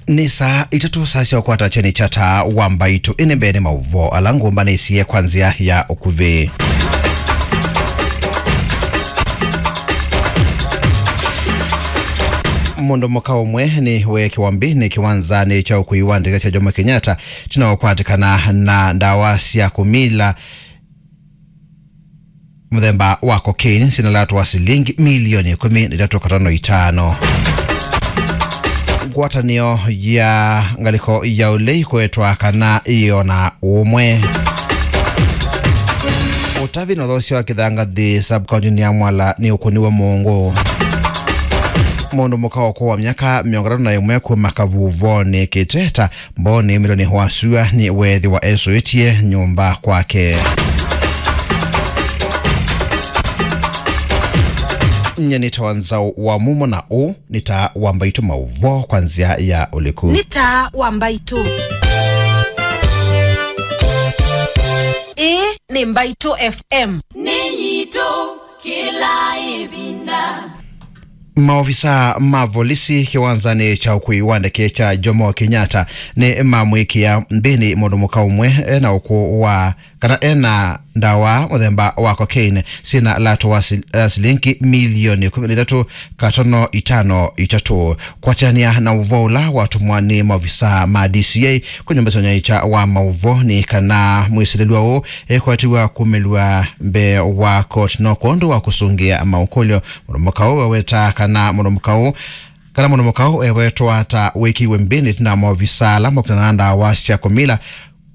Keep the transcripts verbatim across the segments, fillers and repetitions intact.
Nĩ saa itatũ, saa sya ũkwata kyeni kya Taa wa Mbaitũ. Ĩnĩ mbee nĩ maũvoo ala ngũmbanĩsye kwa nzĩa ya ũkuvĩ. Mũndũ mũka ũmwe nĩ weekĩwa mbĩnĩ kĩwanzanĩ kya ũkui wa ndege kya Jomo Kenyatta ĩtina wa kũkwatĩkana na ndawa sya kũmila mũthemba wa cocaine syĩna lato wa silingi milioni ĩkũmi na itatũ katono itano. Ngwatanĩo ya ngalĩko ya ũlei kũetwa kana ĩona ũmwe. Ũtavi na ũthosya wa kĩthangathĩ sub-county-inĩ ya Mwala nĩ ũkũniwe mũngũ. Mũndũ mũka ũkũũ wa myaka mĩongo ĩtatũ na ĩmwe kuma Kavuvonĩ Kĩteta Mboni, Miloni wa Sua nĩ weethĩwa esũĩtye nyũmba kwake. Nye nĩ Tawa Nzaũ wa Mumo na ũũ nĩ Taa wa Mbaitũ, maũvoo kwa nzĩa ya ũliku. Nĩ Taa wa Mbaitũ. Ĩĩ nĩ Mbaitũ F M. Nĩ yitũ kĩla ĩvinda. Maovisa ma volisi kĩwanzanĩ kya ũkui wa ndeke kya Jomo Kenyatta nĩ mamwĩkĩa mbĩnĩ mũndũ mũka ũmwe ena ũkũũ wa, kana ena ndawa mũthemba wa cocaine syĩna lato wa sil-, eh, silingi milioni ĩkũmi na itatũ katono itano itatũ. Kwatĩanĩa na ũvoo ũla watũmwa nĩ maovisa ma D C I kwĩ nyũmba sya ũnyaĩĩkya wa maũvoo, nĩ kana mwĩsilĩlwa ũũ ekwatiwa kumĩlw'a mbee wa koti no kwondũ wa kũsũngĩa maũkũlyo. Mũndũ mũka ũũ eweta kana mũndũ mũka ũũ, kana mũndũ mũka ũũ ewetwa ta wĩkĩiwe mbĩnĩ ĩtina wa maovisa ala makutana na ndawa sya kũmila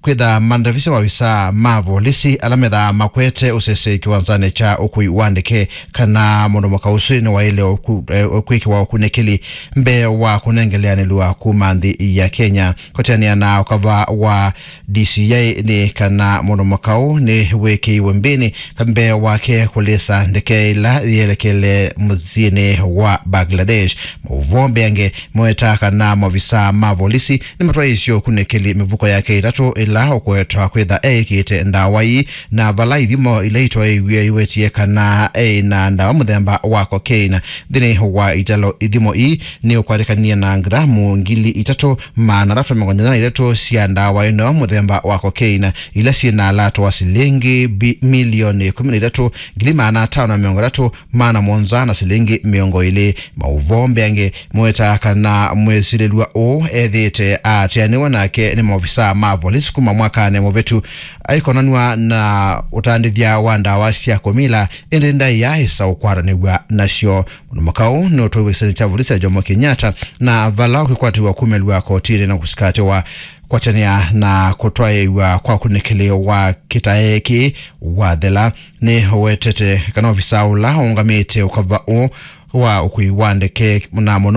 kwĩtha mandavisya maovisa ma volisi ala methaa makwete ũsese kĩwanzanĩ kya ũkui wa ndeke kana mũndũ mũka ũsu nĩwaĩle ũku-, eh, kwĩkĩwa ũkunĩkĩli mbee wa kũnengeleanĩlwa kuma nthĩ ya Kenya. Kũteanĩa na ũkava wa D C I nĩ kana mũndũ mũka ũũ nĩ wĩkĩiwe mbĩnĩ mbee wake kũlĩsa ndeke ĩla yĩelekele mũsyĩnĩ wa Bangladesh. Maũvoo mbeange maweta kana maovisa ma volisi nĩmatwaĩĩsye ũkunĩkĩli mĩvuko yake ĩtatũ ĩla ũkwetwa kwĩtha eĩkĩĩte ndawa ii, na vala ithimo ila itwaĩiw'e iwetie kana eĩ na ndawa mũthemba wa cocaine. Nthĩnĩ wa italo, ithimo ii nĩ ũkwatĩkanie na ngramu ngili itatũ maana atatũ mĩongo nyanya na itatũ sya ndawa ĩno mũthemba wa cocaine, ila syĩ na lato wa silingi bi-, milioni ĩkũmi na itatũ, ngili maana atano na mĩongo ĩtatũ, maana mũonza na silingi mĩongo ĩlĩ. Maũvoo mbeange maweta kana mwĩsilĩlwa ũũ ethĩĩte aatĩanĩwe nake nĩ maovisa ma volisi kuma mwakanĩ mũvĩtu aikonanw'a na ũtandĩthya wa ndawa sya kũmila, ĩndĩ ndaĩa ĩsa ũkwatanĩw'a nasyo. Mũndũ mũka ũũ nĩ ũtwaĩwe kĩsionĩ kya volisi ya Jomo Kenyatta, na vala ũkĩkwatĩw'a kumĩlw'a kotinĩ na kũsikatĩwa. Kwatĩanĩa na kũtwaĩwa kwa ũkunĩkĩli wa kĩtae kĩĩ wathela, nĩ ũwetete kana ovisa ũla ũngamĩte ũkava ũũ wa ũkui wa ndeke na mũno